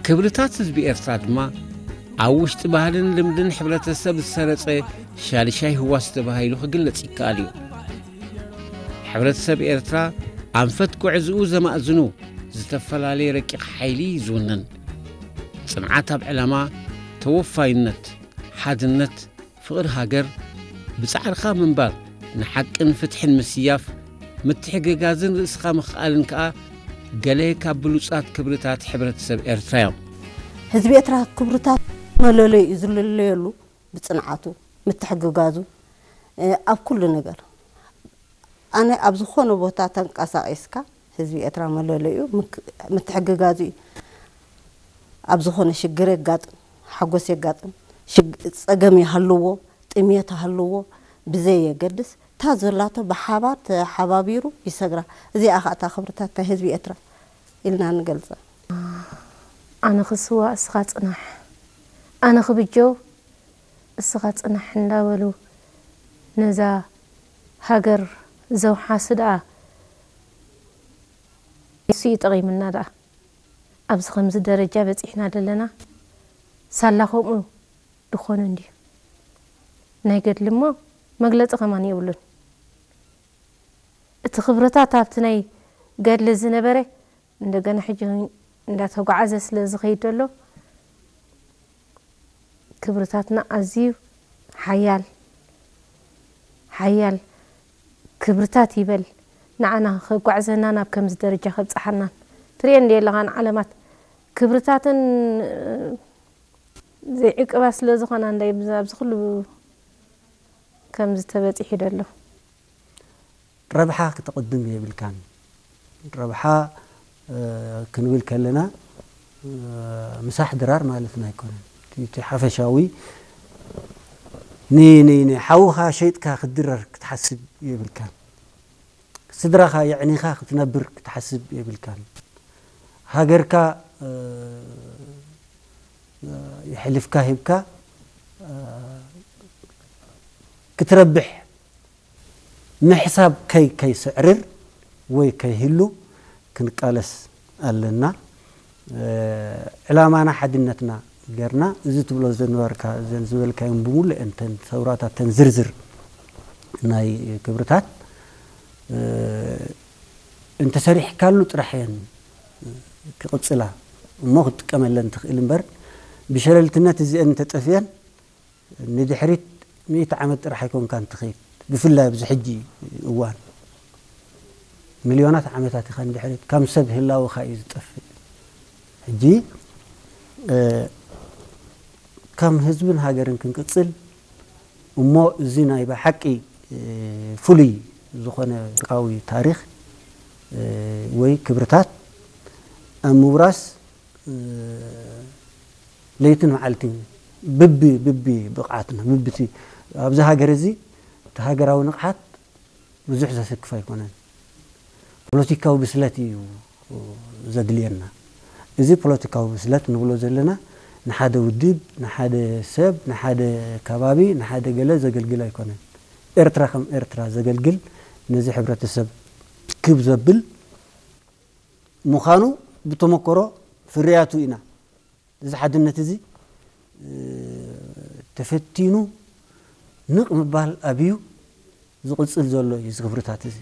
ክብርታት ህዝቢ ኤርትራ ድማ ኣብ ውሽጢ ባህልን ልምድን ሕብረተሰብ ዝሰረጸ ሻድሻይ ህዋስ ተባሂሉ ክግለጽ ይከኣል እዩ። ሕብረተሰብ ኤርትራ ኣንፈት ጉዕዝኡ ዘማእዝኑ ዝተፈላለየ ረቂቕ ሓይሊ እዩ ዝውንን። ጽንዓት ኣብ ዕላማ፣ ተወፋይነት፣ ሓድነት፣ ፍቕሪ ሃገር፣ ብጻዕርኻ ምንባር፣ ንሓቅን ፍትሕን ምስያፍ፣ ምትሕግጋዝን ርእስኻ ምኽኣልን ከኣ ገለ ካብ ብሉጻት ክብርታት ሕብረተሰብ ኤርትራ እዮም። ህዝቢ ኤርትራ ክብርታት መለለዩ እዩ ዝልለየሉ ብጽንዓቱ፣ ምትሕግጋዙ፣ እ፣ ኣብ ኩሉ ነገር። ኣነ ኣብ ዝኾነ ቦታ ተንቀሳቒስካ ህዝቢ ኤርትራ መለለዩ ምክ-፣ ምትሕግጋዙ እዩ። ኣብ ዝኾነ ሽግር የጋጥም፣ ሓጎስ የጋጥም፣ ሽግ-፣ ጸገም ይሃልዎ፣ ጥሜት ይሃልዎ፣ ብዘይ የገድስ እታ ዘላቶ ብሓባር ተሓባቢሩ ይሰግራ። እዚኣ ኸኣ እታ ክብርታት ናይ ህዝቢ ኤርትራ ኢልና ንገልጻ። ኣነ ክስዋእ እስኻ ጽናሕ፣ ኣነ ክብጀው እስኻ ጽናሕ እንዳበሉ ነዛ ሃገር ዘውሓሱ ደኣ ንሱ እዩ ጠቒምና ደኣ ኣብዚ ከምዚ ደረጃ በጺሕና ዘለና። ሳላ ከምኡ ድኾነ እንድዩ ናይ ገድሊ እሞ መግለጺ ከማን የብሉን። እቲ ክብርታት ኣብቲ ናይ ገድሊ ዝነበረ እንደገና ሕጂ እንዳተጓዓዘ ስለ ዝኸይድ ዘሎ ክብርታትና ኣዝዩ ሓያል ሓያል ክብርታት ይበል። ንዓና ከጓዕዘና ናብ ከምዚ ደረጃ ከብጽሓናን ትርእየን እንደ ኣለኻን ዓለማት ክብርታትን ዘይዕቅባ ስለ ዝኾና እንታይ ኣብዚ ኩሉ ከምዚ ተበጺሑ ደሎ። ረብሓ ክተቕድም የብልካን። ረብሓ ክንብል ከለና ምሳሕ ድራር ማለትና ኣይኮነን። እቲ ሓፈሻዊ ንሓውኻ ሸይጥካ ክትድረር ክትሓስብ የብልካን። ስድራኻ የዕኒኻ ክትነብር ክትሓስብ የብልካን። ሃገርካ የሕሊፍካ ሂብካ ክትረብሕ ምሕሳብ ከይ ከይስዕርር ወይ ከይህሉ ክንቃለስ ኣለና። ዕላማና ሓድነትና ገርና እዚ ትብሎ ዝነበርካ እዘን ዝበልካዮም ብምሉእ እንተን ሰውራታት ተን ዝርዝር ናይ ክብርታት እንተሰሪሕካሉ ጥራሕ እየን ክቕጽላ እሞ ክትጥቀመለን ትኽእል እምበር ብሸለልትነት እዚአን እንተጠፍየን ንድሕሪት ሚእቲ ዓመት ጥራሕ ኣይኮንካን ትኸይድ። ብፍላይ ኣብዚ ሕጂ እዋን ሚልዮናት ዓመታት ኢኻ ንድሕሪት ከም ሰብ ህላወኻ እዩ ዝጠፍእ። ሕጂ ከም ህዝብን ሃገርን ክንቅጽል እሞ እዚ ናይ ብሓቂ ፍሉይ ዝኾነ ቃዊ ታሪኽ ወይ ክብርታት ኣብ ምውራስ ለይትን መዓልትን ብቢ ብቢ ብቕዓትና ብብቲ ኣብዚ ሃገር እዚ እቲ ሃገራዊ ንቕሓት ብዙሕ ዘሰክፍ ኣይኮነን። ፖለቲካዊ ብስለት እዩ ዘድልየና። እዚ ፖለቲካዊ ብስለት ንብሎ ዘለና ንሓደ ውድብ፣ ንሓደ ሰብ፣ ንሓደ ከባቢ፣ ንሓደ ገለ ዘገልግል ኣይኮነን። ኤርትራ ከም ኤርትራ ዘገልግል ነዚ ሕብረተሰብ ክብ ዘብል ምዃኑ ብተመክሮ ፍርያቱ ኢና። እዚ ሓድነት እዚ ተፈቲኑ ንቕ ምባል ኣብዩ ዝቕጽል ዘሎ እዩ። እዚ ክብርታት እዚ